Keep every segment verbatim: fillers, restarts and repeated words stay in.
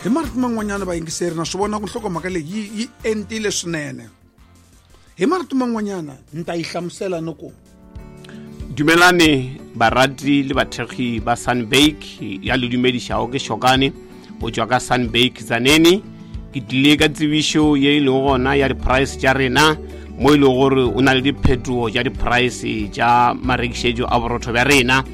Hi marito man'wanyana vayingiseri na swi vona ku nhlokomhaka leyi yi yi entile swinene. Hi marito man'wanyana ni ta yi hlamusela ni ku Dumelane barati le bathekgi ba Sunbake ya le dumedišago ke Shokane go tšwa ka Sunbake Tzaneen. Ke tlile ka tsebišo ye e lego gona ya di-price tša rena mo e lego gore o na le diphetogo tša di-price tša marekišetšo a borotho bja rena.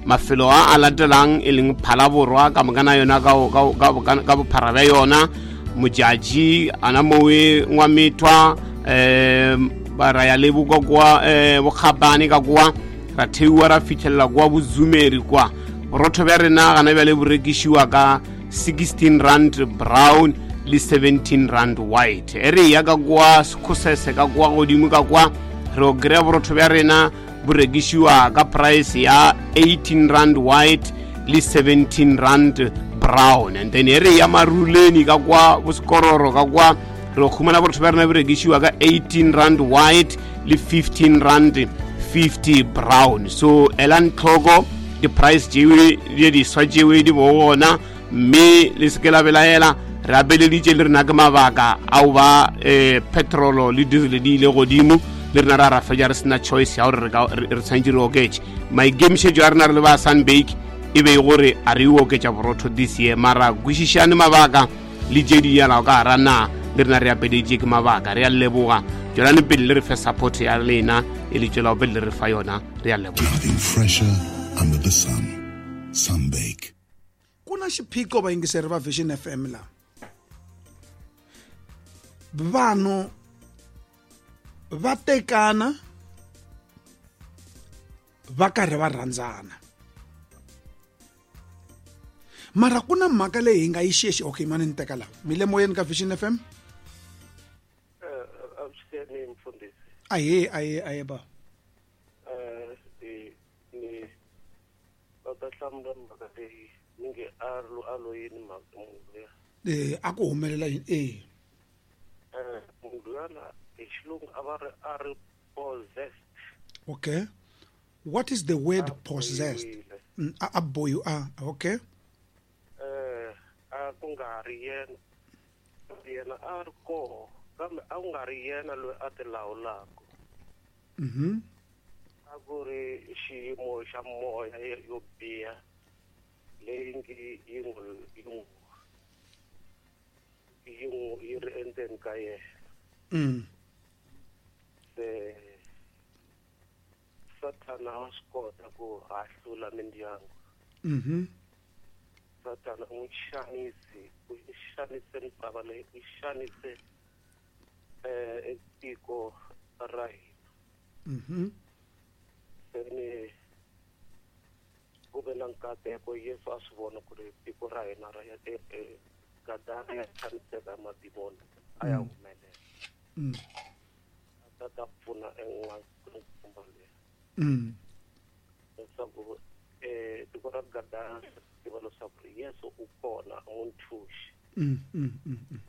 Mafelo a a latelang e leng Phalaborwa ka mokana yona ka, ka, ka, ka, ka bophara bja yona, Modjadji ana mowe Ngwamethwa, um ba ra ya le bokwa kwa um Bokgabane ka kwa ra theiwa ra fitlhelela kwa Bozumeri kwa. Borotho bja rena gana bjale bo rekišiwa ka sixteen rand brown le seventeen rand white. E re ya ka kwa Sekhosese ka kwa godimo ka kwa re o kry-a borotho bja rena bo rekišiwa ka price ya eighteen rand white le seventeen rand brown. And then e re ya Maruleni ka kwa Bosekororo ka kwa re o khumana borotho bja rena bo rekišiwa ka eighteen rand white le fifteen rand fifty brown. So elang tlhoko di-price tšewe di diswa tšewe di bo gona, mme le se ke la belaela. Re abeleditše le rena ke mabaka ao ba eh, petrolo le diesel di ile godimo, le rena ra ra fetša re sena choice ya gore re ka- re re tshwanetse re oketše. Maikemišetšo a rena re le ba Sunbake e be e gore a re e oketša borotho this year, mara kwešišane mabaka le tše di yalago ka gara na le rena re apeleditše ke mabaka. Re a leboga, tšwelane pele le re fe support ya lena e le tšwelago pele le re fa yona. Re a leboga. Nothing fresher under the sun. Sunbake. Ku na xiphiqo vayingiseri va Vision F M la. Vanhu va tekana va karhi va rhandzana, mara ku na mhaka leyi hi nga yi xexi. Okay, mani ni teka laha mi le moyeni ka Vision F M. Eh, avuxeni mfundhisi. Ahee, ahee, ahee ba. Eh, ni ni va ta hlamula mhaka leyi ni nge a lo a lo yini mhaka munhu luya. Eh, a ku humelela yini? Eh. Eh, munhu luyana hi xilungu a va ri a ri possessed. Okay. What is the word A possessed? bohiwile. Mm, a, a bohi, a, okay. Eh, a ku nga ri yena. Yena a ri koho, kambe a ku nga ri yena loyi a ti lawulaka. Mhm. A ku ri xiyimo xa moya yo biha leyi ngi yi n'wi yi n'wi yi n'wi yi ri endzeni ka yena. Mm. Se Sathana wa swi kota ku hahlula mindyangu. Mhm. Sathana u n'wi xanisi, u xanise misava leyi, u xanise eh tiko ra hina. Mhm. Se ni ku ve na nkateko Yesu a swi vona ku ri tiko ra hina ra ya e, e, Gadara ya xaniseka ya madimoni a ya humelela. Mm. A ta ta pfuna en'wana leyi. Mm. Leswaku eh tiko ra Gadara ri tiva leswaku Yesu u kona a n'wi ntshunxi. Mm, mm, mm, mm.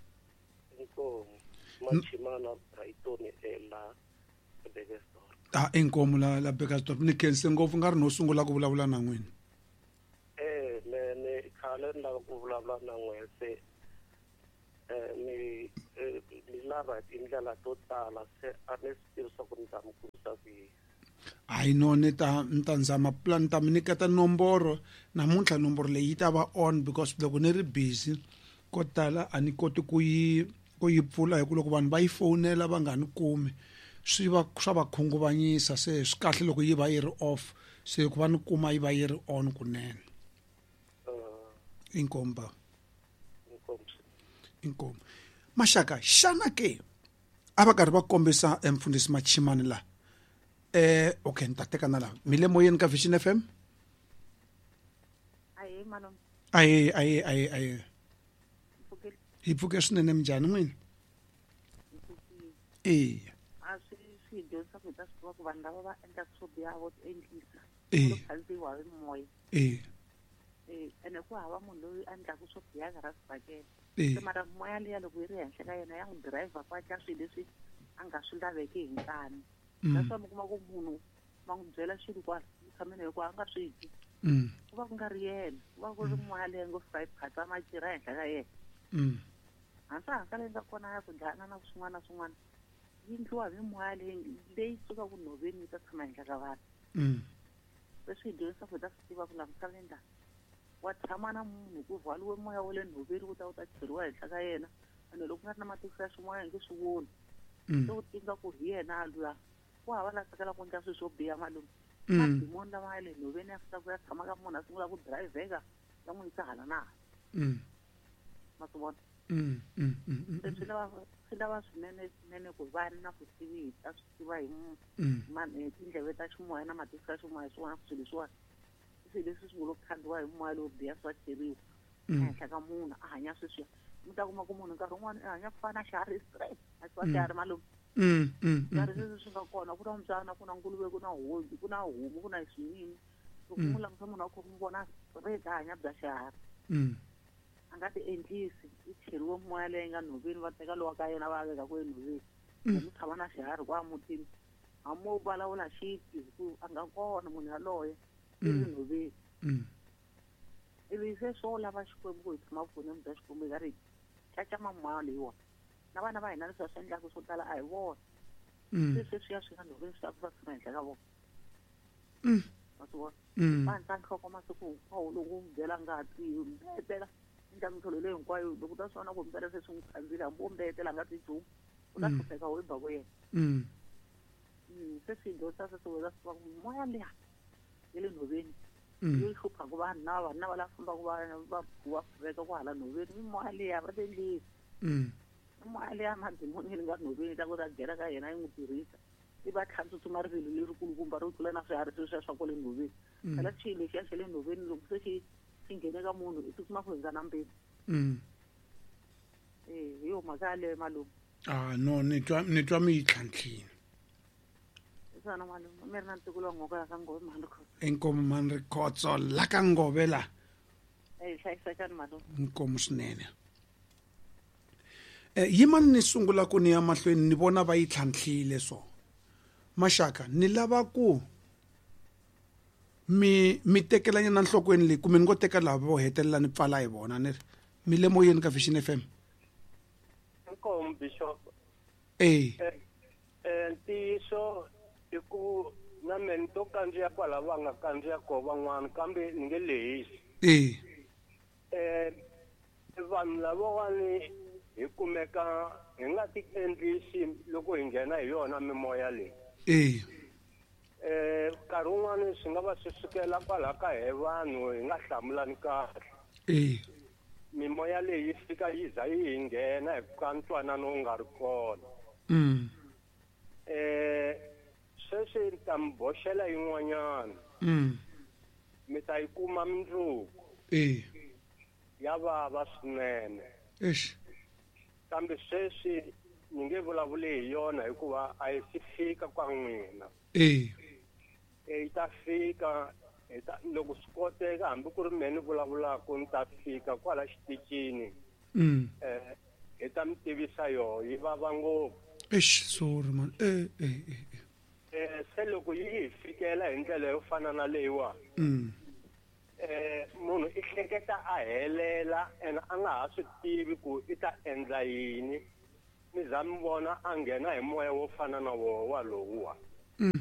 Inkomu Machimana Brighton e la Burgersdorp. Ah, inkomu la la Burgersdorp. Ni khense ngopfu nga ri no sungula ku vulavula na n'wina. Eh, me ni khale ni lava ku vulavula na n'wina se eh ni eh, ni lava tindlela to tala se a ni swi tivi swa ku ni ta mi kumisa ku yini. Hayi no, ni ta ni ta zama plan, ni ta mi nyiketa nomboro namuntlha. Nomboro leyi yi ta va on because loko ni ri busy ko tala a ni koti ku yi ku yi pfula, hi ku loko vanhu va yi fonela va nga ni kumi swi va swa va khunguvanyisa. Se swi kahle loko yi va yi ri off, se ku va ni kuma yi va yi ri on kunene. Eh, Inkomu ba. Inkomu. Inkomu. Maxaka, xana ke a va karhi va kombisa mfundhisi Machimani la? Eh, okay, ni ta teka na la. Mi le moyeni ka Vision F M? Ahee, malume. Ahee, ahee, ahee, ahee. Hi pfuke swinene, minjhani n'wina? Eya. A swi swi hi dyondzisa ku hi ta swi tiva ku vanhu lava va endlaka swo biha vo ti endlisa. Eh. Vo khandziyiwa hi moya. Eh. Eh, ene ku hava munhu loyi a endlaka swo biha ka ra swibakele. Eh. Se mara moya liya loko yi ri henhla ka yena ya n'wi driver ku a swilo leswi a nga swi laveki hi nkani. Mm. That's why mi kuma ku munhu va n'wi byela xilo kwala tshameni hikuva a nga swi twi. Mm. Ku va ku nga ri yena, ku va ku ri moya leyi ngo fika yi phatsa macira ehenhla ka yena. Mm. Hansa leyi nga kona ya ku dlana na swin'wana na swin'wana yi endliwa hi mimoya leyi leyi sukaka nhoveni yi ta tshama henhla ka vanhu. Mm. Leswi hi dyondzisa ku hi ta swi tiva ku laha misaveni laha wa tshama na munhu ku rhwaliwe moya wa le nhoveni wu ta wu ta cheriwa henhla ka yena ene loko ku nga ri na matihlo ya ximoya hi nge swi voni. Mm. Se u tiva ku hi yena a luya ku hava la tsakelaka ku endla swilo swo biha malume. Mm. Madimoni lama ya le nhoveni ya fika ku ya tshama ka munhu a sungula ku dirayivheka ya n'wi yisa hala na hala. Mm. Ma swi vona? Mm. Mm. Mm. Mm. Se swi lava swi lava swinene swinene ku va na vutivi hi ta swi tiva hi mu- Mm. ma- eh, tindleve ta ximoya na matihlo ya ximoya hi swona swilo leswiwani i swilo leswi swi ngo lo khandziwa hi moya lowo biha swi va cheriwa Mm. ehenhla ka munhu a hanya sweswiya. Mi ta kuma ku munhu nkarhi wun'wani i hanya ku fana na xiharhi straight a xi va Mm. xiharhi malume. Mm. Mm. Nkarhi Mm. leswi swi nga kona ku na mbyana ku na nguluve ku na hosi ku na homu ku na swinyini loko Mm. n'wi langusa munhu a kha n'wi vona straight a hanya bya xiharhi. Mm. A nga ti endlisi i cheriwe moya leyi nga nhoveni va teka lowa ka yena va veka ku enhoveni. Mm. Mu tshama na xiharhi kwa mutini hambi wo vulavula xi twi hi ku a nga kona munhu yaloye i ri Mm. nhoveni. Mm. Ivi se swo lava Xikwembu ku hi tshama vukoneni bya Xikwembu hi karhi hi cacama moya leyiwani na vana va hina leswi va swi endlaka swo tala a hi vona. Mm. Se sweswiya swi nga nhoveni swi ta ku va tshama henhla ka vona. Mm. Ma swi vona? Mm. Va handza nhloko masiku hinkwawo loko u n'wi byela ngati mbetela endla mintlhelo leyi hinkwayo loko u ta swi vona ku mpela se swi n'wi khandzile hambi wo mbetela a nga twi nchumu u ta Mm. hlupheka wo ba ku yena. Mm. Mm, se swi dyondzisa sweswo u ta swi tiva ku moya liya ya le nhoveni Mm. yi hluphaka vanhu na vanhu na va lava fambaka va va va veka ku hala nhoveni mimoya liya va ti endlisi. Mm. Mimoya liya madimoni yi nga nhoveni yi ta ku ta nghena ka yena yi n'wi tirhisa i va tlha tsutsuma rivilo lerikulukumba ro tlula na swiharhi sweswiya swa kwale nhoveni. Mm. Phela xilo lexiya xa le nhoveni loko se xi xi nghene ka munhu i tsutsuma ku hundza na mpimo. Mm. Eh hi yo mhaka yaleyo malume. Ah no ni twa ni twa mi yi tlhantlhile. Hi swona malume mi ri na ntukulu wa nghoka ya ka Ngove mhani Khotso. Inkomu mhani Rikhotso la ka Ngove la. Eh hlayisekani malume. Inkomu swinene. Eh yimani ni sungula ku ni ya mahlweni ni vona va yi tlhantlhile so. Maxaka ni lava ku mi mi tekelanyana nhlokweni leyi kumbe ni ngo teka lava vo hetelela ni pfala hi vona ni ri mi le moyeni ka Vision F M. Inkomu Bishop. Eh. Eh ntiyiso i ku na mina ni to kandziya kwala va nga kandziya kona van'wana kambe ni nge lehisi. Eh. Eh vanhu lavawani hi kumeka hi nga ti endlisi loko hi nghena hi yona mimoya leyi. Eh. Eh nkarhi wun'wani swi nga va swi sukela kwala ka he vanhu hi nga hlamulani kahle. Eh. Mimoya leyi yi fika yi za yi hi nghena hi ka ntwanano wu nga ri kona. Mm. Eh sweswi ni ta mi boxela yin'wanyana. Mm. Mi ta yi kuma mundzuku. Eh. Ya vava swinene. Eish. Kambe sweswi ni nge vulavuli hi yona hikuva a yi si fika kwa n'wina. Eh. Eh yi ta fika hi ta loko swi koteka hambi ku ri mehe ni vulavulaka ni ta fika kwala xitichini. Mm. Eh hi ta mi tivisa yoho yi vava ngopfu. Eish sorry man. Eh eh eh. Eh se loko yi hi fikela hi ndlela yo fana na leyiwa. Mm. Eh munhu i hleketa a helela ene a nga ha swi tivi ku i ta endla yini. Mi za mi vona a nghena hi moya wo fana na woho walowuwa. Mm.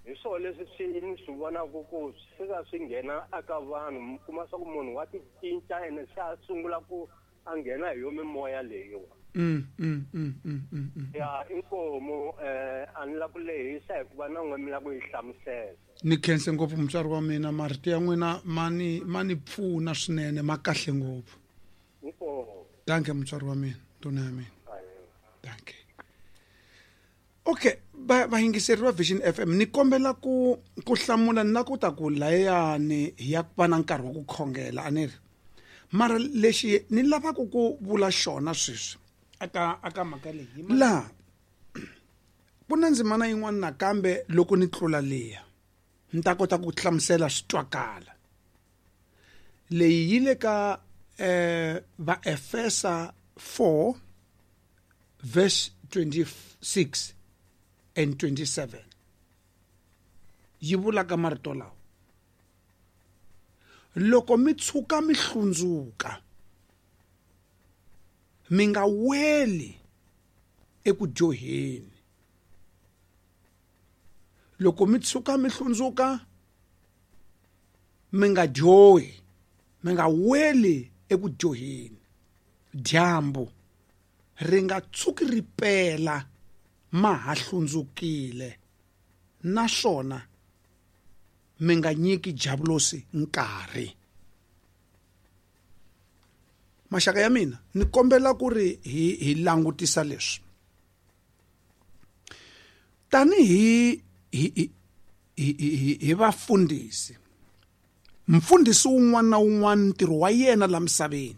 Hi swona leswi swi ni swi vonaka ku swi fika swi nghena eka vanhu mi kuma swa ku munhu wa ti cinca ene se a sungula ku a nghena hi yo mimoya leyiwa. Mm mm mm mm mm. mm. Ya inkomu eh a ni la ku lehisa hikuva na n'we mi la ku yi hlamusela. Ni khense ngopfu mutswari wa mina marito ya n'wina ma ni ma ni pfuna swinene ma kahle ngopfu. Inkomu. Danke mutswari wa mina ndhuna ya mina. Danke. Okay, va vayingiseri va Vision F M ni kombela ku ku hlamula na ku ta ku layani hi ya va na nkarhi wa ku khongela a ni ri. Mara lexi ni lavaka ku vula xona sweswi aka aka mhaka leyi laha ku na ndzimana yin'wana nakambe loko ni tlula liya ni ta kota ku hlamusela swi twakala. Leyi yi le ka eh Vaefesa four verse twenty-six and twenty-seven yi vula ka marito lawa: loko mi tshuka mi hlundzuka Mi nga weli eku dyoheni. Loko mi tshuka mi hlundzuka mi nga dyohi, mi nga weli eku dyoheni. Dyambu ri nga tshuki ri pela ma ha hlundzukile, naswona mi nga nyiki diabulosi nkarhi. Maxaka ya mina, ni kombela ku ri hi hi langutisa leswi. Tanihi hi hi hi hi vafundhisi, mfundhisi wun'wana na wun'wana ntirho wa yena la misaveni,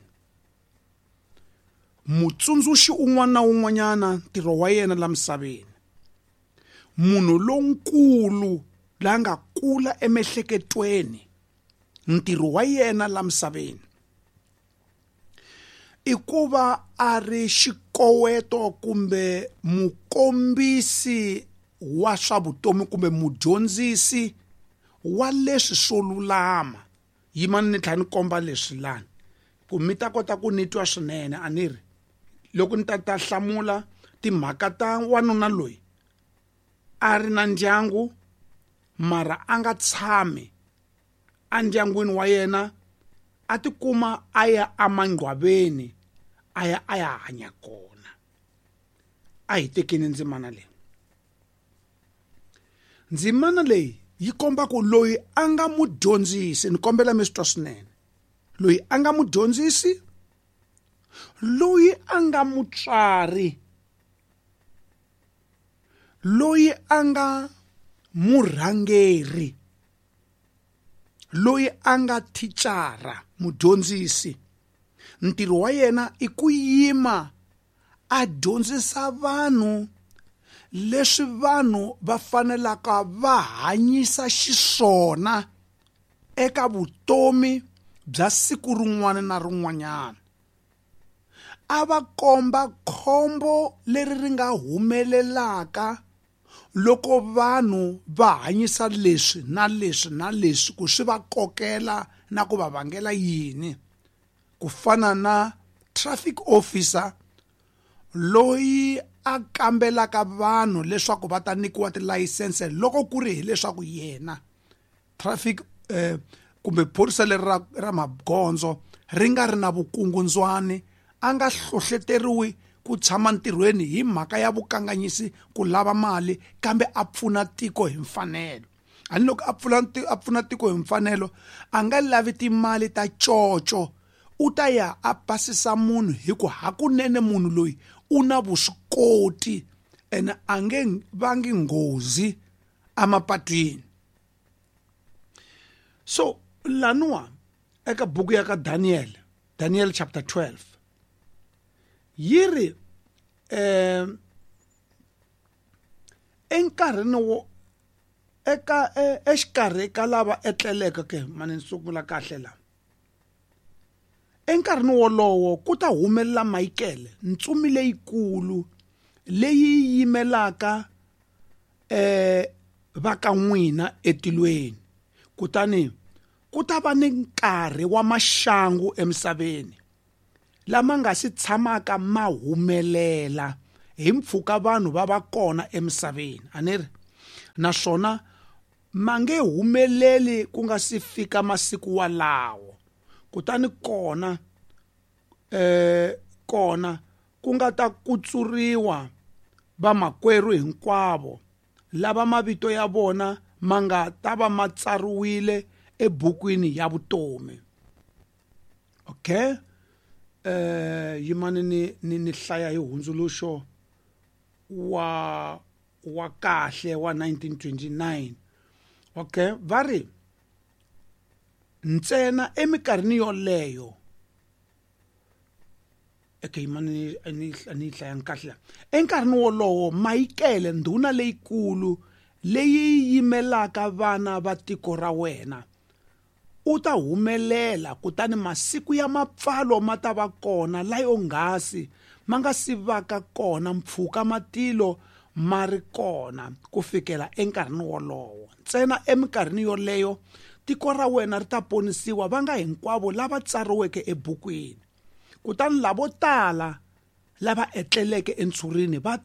mutsundzuxi un'wana na un'wanyana ntirho wa yena la misaveni, munhu lonkulu la nga kula emiehleketweni ntirho wa yena la misaveni i ku va a ri xikoweto kumbe mukombisi wa swa vutomi kumbe mudyondzisi wa leswi swo lulama. Yimani ni tlhela ni komba leswi lani ku mi ta kota ku ni twa swinene. A ni ri loko ni ta ta hlamula timhaka ta wanuna loyi a ri na ndyangu mara a nga tshami endyangwini wa yena, a tikuma a ya emangcwaveni a ya a ya hanya kona. A hi tekeni ndzimana leyi. Ndzimana leyi yi komba ku loyi a nga mudyondzisi, ni kombela mi swi twa swinene, loyi a nga mudyondzisi, loyi a nga mutswari, loyi a nga murhangeri, loyi a nga thicara, mudyondzisi, ntirho wa yena i ku yima a dyondzisa vanhu leswi vanhu va fanelaka va hanyisa xiswona eka vutomi bya siku rin'wana na rin'wanyana. A va komba khombo leri ri nga humelelaka loko vanhu va hanyisa leswi na leswi na leswi, ku swi va kokela na ku va vangela yini. Ku fana na traffic officer loyi a kambelaka vanhu leswaku va ta nyikiwa tilayisense loko ku ri hileswaku yena traffic eh, kumbe phorisa leri ra, ra magondzo ri nga ri na vukungundzwani, a nga hlohleteriwi ku tshama ntirhweni hi mhaka ya vukanganyisi ku lava mali, kambe a pfuna tiko hi mfanelo. Ani loko a pfula a pfuna tiko hi mfanelo, a nga lavi timali ta coco, u ta ya a pasisa munhu hi ku hakunene munhu loyi u na vuswikoti ene a nge vangi nghozi emapatwini. So laniwa eka buku ya ka Daniel, Daniel chapter twelve, yi ri eh enkarhini wo eka exikarhi ka lava etleleke ke mani ni sungula kahle la. Enkarhini wolowo ku ta humelela Michael, ntsumi leyikulu leyi yimelaka eh va ka n'wina etilweni, kutani ku ta va ni nkarhi wa maxangu emisaveni lama nga si tshamaka ma humelela hi mpfhuka vanhu va va kona emisaveni. A ni ri naswona ma nge humeleli ku nga si fika masiku walawo. Kutani kona eh kona ku nga ta kutsuriwa vamakwerhu hinkwavo lava mavito ya vona ma nga ta va ma tsariwile ebukwini ya vutomi. Okay, eh yimani ni ni ni hlaya hi hundzuluxo wa wa kahle wa nineteen twenty-nine. Okay, va ri ntsena emikarhini yoleyo. Okay, yimani ni ni hlaya kahle. Enkarhini wolowo Michael, ndhuna leyikulu leyi yimelaka vana va tiko ra wena, u ta humelela, kutani masiku ya mapfalo ma ta va kona layo nghasi ma nga si vaka kona mpfhuka matilo ma ri kona ku fikela enkarhini wolowo. Ntsena emikarhini yoleyo tiko ra wena ri ta ponisiwa, va nga hinkwavo lava tsariweke ebukwini. Kutani lavo tala lava etleleke entshurini va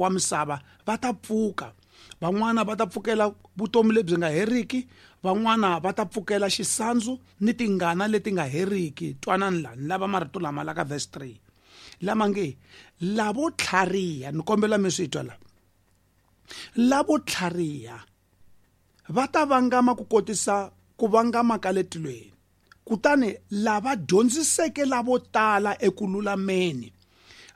wa misava va ta pfuka. Van'wana va ta pfukela vutomi lebyi nga heriki, van'wana va ta pfukela xisandzu ni tingana leti nga heriki. Twanani la, ni lava marito lama la ka verse three lama nge lavo tlhariha, ni kombela mi swi twa la, lavo tlhariha va ta vangama ku kotisa ku vangama ka le tilweni, kutani lava dyondziseke lavo tala eku lulameni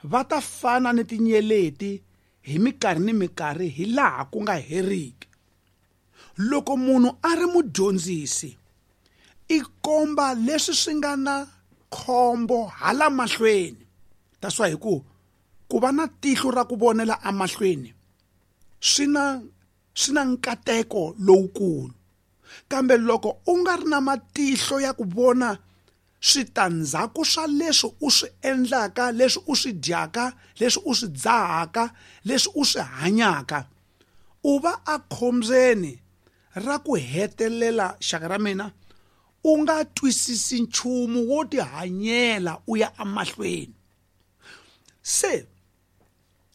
va ta fana ni tinyeleti hi minkarhi ni minkarhi hi laha ku nga heriki. Loko munhu a ri mudyondzisi i komba leswi swi nga na khombo hala mahlweni. That's why hi ku ku va na tihlo ra ku vonela emahlweni swi na swi na nkateko lowukulu, kambe loko u nga ri na matihlo ya ku vona switandzhaku swa leswi u swi endlaka, leswi u swi dyaka, leswi u swi dzahaka, leswi u swi hanyaka, u va ekhombyeni ra ku hetelela xaka ra mina u nga twisisi nchumu wo tihanyela u ya emahlweni. Se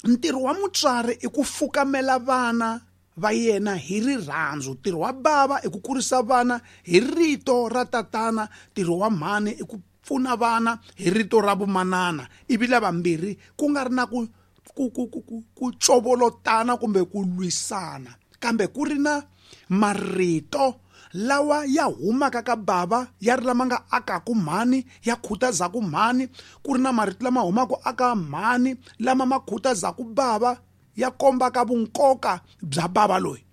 ntirho wa mutswari i ku fukamela vana va yena hi rirhandzu, ntirho wa bava i ku kurisa vana hi rito ra tatana, ntirho wa mhani i ku pfuna vana hi rito ra vumanana, ivi lavambirhi ku nga ri na ku ku ku ku ku covolotana kumbe ku lwisana, kambe ku ri na marito lawa ya humaka ka bava ya ri lama nga akaku mhani, ya khutazaku mhani, ku ri na marito lama humaka aka mhani lama ma khutazaku bava, ya kombaka vunkoka bya bava loyi.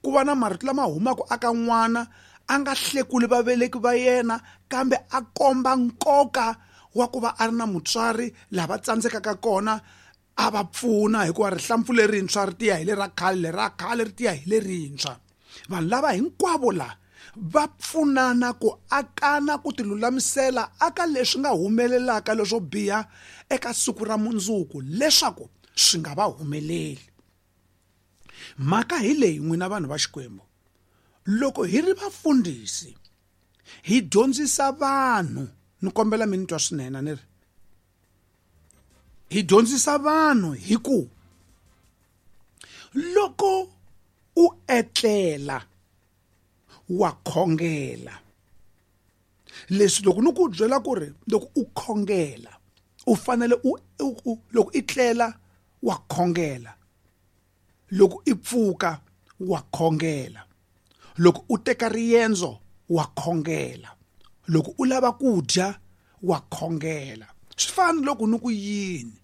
Ku va na marito lama humaka aka n'wana a nga hlekuli vaveleki va yena, kambe a komba nkoka wa ku va a ri na mutswari lava tsandzekaka kona a va pfuna, hikuva rihlampfu lerintshwa ri tiya hi le ra khale, le ra khale ri tiya hi lerintshwa. Vanhu lava hinkwavo la va pfunana ku akana ku tilulamisela aka leswi nga humelelaka leswo biha eka siku ra mundzuku leswaku swi nga va humeleli. Mhaka hi leyi n'wina vanhu va Xikwembu, loko hi ri vafundhisi hi dyondzisa vanhu, ni kombela mi ni twa swinene, ni ri hi dyondzisa vanhu hi ku loko u etlela wa khongela. Leswi loko ni ku byela ku ri loko u khongela u fanele u loko i tlela wa khongela, loko i pfuka wa khongela, loko u teka riendzo wa khongela, loko u lava ku dya wa khongela. Swi fana loko ni ku yini,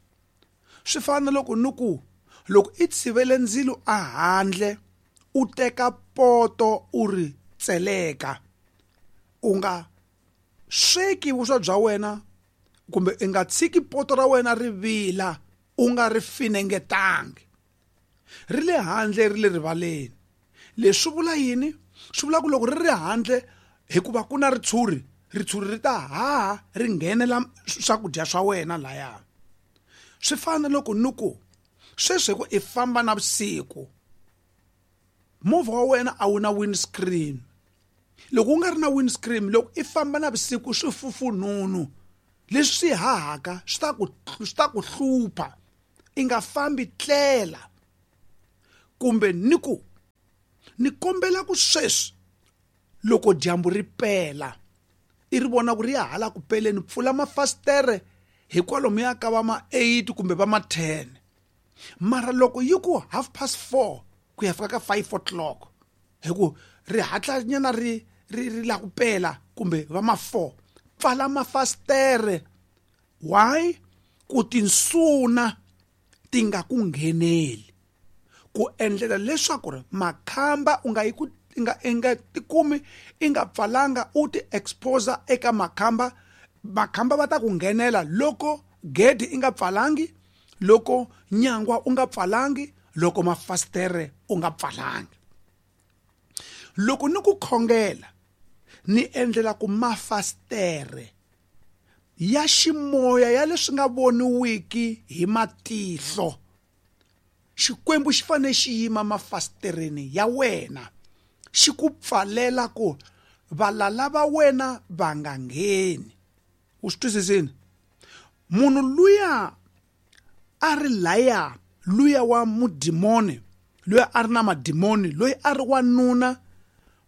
swi fana loko ni ku loko i tshivele ndzilo a handle u teka poto u ri tseleka, u nga sweki vuswa bya wena kumbe i nga tshiki poto ra wena ri vila u nga ri finengetangi, ri le handle ri le rivaleni. Leswi vula yini? Swi vula ku loko ri ri handle, hikuva ku na ritshuri, ritshuri ri ta haha ri nghenela swakudya swa wena laya. Swi fana loko ni ku sweswi hi ku i famba navusiku, movha wa wena a wu na windscreen. Loko u nga ri na windscreen, loko i famba navusiku swifufunhunu leswi swi hahaka swi ta ku swi ta ku hlupha, i nga fambi tlela. Kumbe ni ku ni kombela ku sweswi loko dyambu ri pela i ri vona ku ri ya hala ku peleni, pfula mafasitere hi kwalomuya ka va ma eight kumbe va ma ten. Mara loko yi ku half past four ku ya fika ka five o'clock, hi ku ri hatla nyana ri ri ri la ku pela kumbe va ma four, pfala mafasitere. Why? Ku tinsuna ti nga ku ngheneli, ku endlela leswaku ri makhamba u nga yi ku nga i nga tikumi i nga pfalanga u ti expose eka makhamba. Makhamba va ta ku nghenela loko gedi i nga pfalangi, loko nyangwa u nga pfalangi, loko mafasitere u nga pfalangi. Loko ni ku khongela ni endlela ku mafasitere ya ximoya ya leswi nga voniwiki hi matihlo, Xikwembu xi fanele xi yima mafasitereni ya wena, xi ku pfalela ku valala va wena va nga ngheni. U swi twisisini? Munhu luya a ri laya luya wa mudimoni, luya a ri na madimoni, loyi a ri wanuna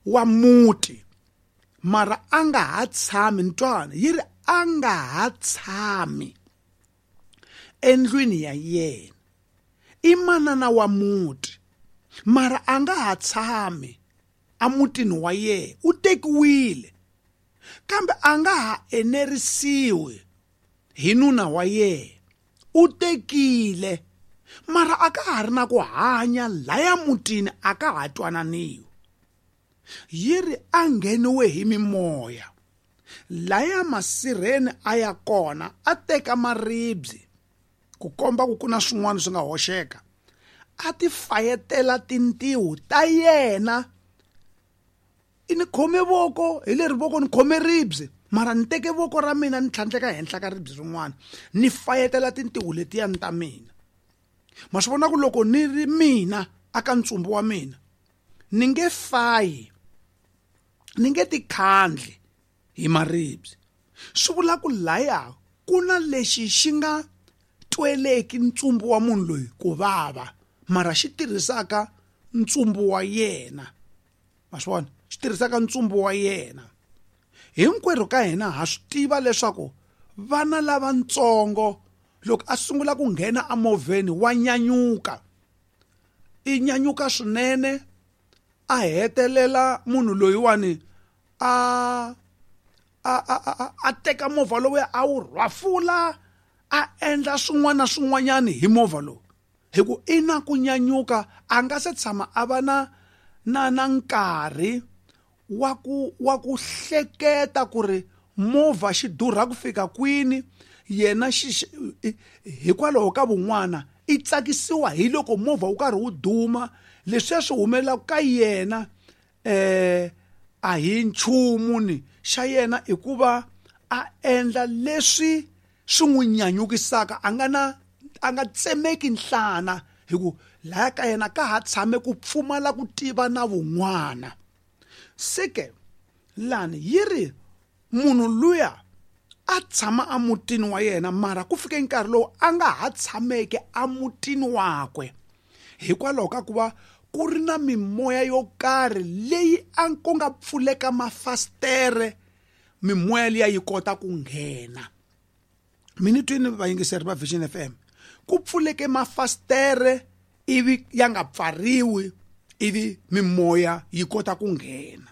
wa muti, mara a nga ha tshami ntwana, yi ri a nga ha tshami endlwini ya yena. I manana wa muti, mara a nga ha tshami emutini wa yena, u tekiwile, kambe a nga ha enerisiwi hi nuna wa yena, u tekile, mara a ka ha ri na ku hanya laya mutini, a ka ha twananiwi. Yi ri a ngheniwe hi mimoya laya masirheni a ya kona, a teka maribye ku komba ku ku na swin'wana swi nga hoxeka, a ti fayetela tintiho ta yena. I ni khome voko hi leri voko ni khome ribye, mara ni teke voko ra mina ni tlhandleka henhla ka ribye rin'wana, ni fayetela tintiho letiyani ta mina. Ma swi vona ku loko ni ri mina aka ntsumbu wa mina, ni nge fayi, ni nge tikhandli hi maribye. Swi vula ku laya ku na lexi xi nga tweleki ntsumbu wa munhu loyi ku vava, mara xi tirhisaka ntsumbu wa yena. Ma swi vona, xi tirhisaka ntsumbu wa yena. Hinkwerhu ka hina ha swi tiva leswaku vana lavatsongo loko a sungula ku nghena emovheni wa nyanyuka, i nyanyuka swinene, a hetelela munhu loyiwani a a a a teka movha lowuya a wu rhwafula, a endla swin'wana na swin'wanyani hi movha lowu, hi ku i na ku nyanyuka, a nga se tshama a va na na na nkarhi wa ku wa ku hleketa ku ri movha xi durha ku fika kwini. Yena xi hikwalaho ka vun'wana i tsakisiwa hi loko movha wu karhi wu duma, leswiya swi humelelaka ka yena eh a hi nchumu ni xa yena, i ku va a endla leswi swi n'wi nyanyukisaka, a nga na a nga tsemeki nhlana, hi ku laya ka yena ka ha tshame ku pfumala ku tiva na vun'wana. Se ke lani yi ri munhu luya a tshama emutini wa yena, mara ku fike nkarhi lowu a nga ha tshameke emutini wakwe, hikwalaho ka ku va ku ri na mimoya yo karhi leyi a ku nga pfuleka mafasitere, mimoya liya yi kota ku nghena. Minitwini vayingiseri va Vision F M, ku pfuleke mafasitere ivi ya nga pfariwi, ivi mimoya yi kota ku nghena.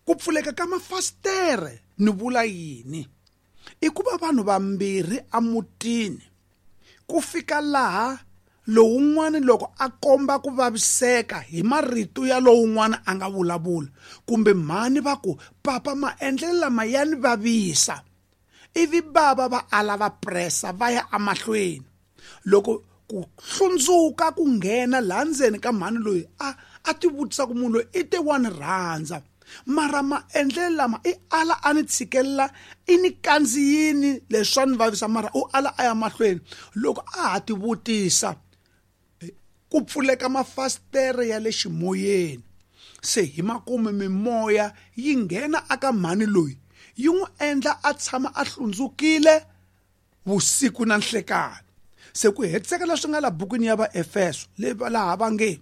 Ku pfuleka ka mafasitere ni vula yini? I ku va vanhu vambirhi emutini ku fika laha lowun'wana loko a komba ku vaviseka hi marito ya lowun'wana a nga vulavula, kumbe mhani va ku papa maendlelo lama ya ni vavisa, ivi bava va ala va pressa va ya emahlweni. Loko ku hlundzuka ku nghena laha ndzeni ka mhani loyi, a a ti vutisa ku munhu loyi i te wa ni rhandza, mara maendlelo lama i ala a ni tshikelela, i ni kandziyini leswi swa ni vavisa, mara u ala a ya mahlweni. Loko a ha ti vutisa, ku pfuleka mafasitere ya le ximoyeni, se hi makumu mimoya yi nghena aka mhani loyi, yi n'wi endla a tshama a hlundzukile vusiku na nhlekani. Se ku hetiseka leswi nga la bukwini ya Vaefeso, laha va nge